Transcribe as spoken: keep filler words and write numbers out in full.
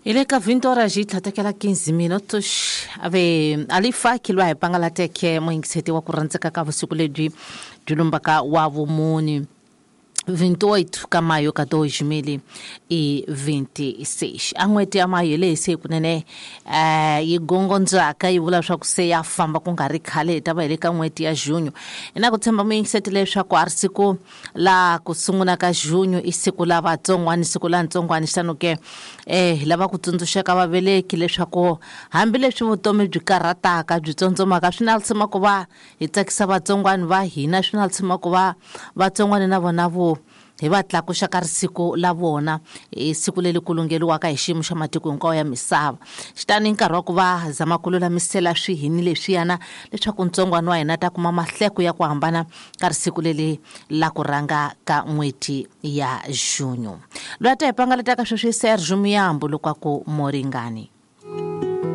Hi le ka vinte horas yi tlhatekela quinze minutos ave alifaki lwa hi pangalateke muyingiseti wa ku rhandzeka ka vusiku lebyi byi lumbaka wa vumuni vinte e oito ka maio ka dois mil e vinte e seis. A n'hweti ya mayo leyi se kunene eh yi gongondzaka yi vula leswaku se ya famba ku nga ri khale hi ta va hi le ka n'hweti ya junho. Hi na ku tshemba muyingiseti leswaku a ri siku la ku sungula ka junho i siku la vatsongwani, siku la ntsongwani. Xitano ke eh hi lava ku tsundzuxeka vaveleki leswaku hambileswi vutomi byi karhataka byi tsondzomaka, swi na lisima ku va hi tsakisa vatsongwani va hina, swi na lisima ku va vatsongwani na vona vo hi va tlakuxa ka risiku la vona, i siku leri ku lungeliwaka hi xiyimo xa matiko hinkwawo ya misava. Xitani nkarhi wa ku va zama ku lulamisela swihini leswiyana leswaku ntsongwana wa hina ta kuma mahleko ya ku hambana ka risiku leri la ku rhanga ka n'hweti ya junho. Loyi a ta hi pangalataka sweswi Sergio Muyambo loko a ku Moringani.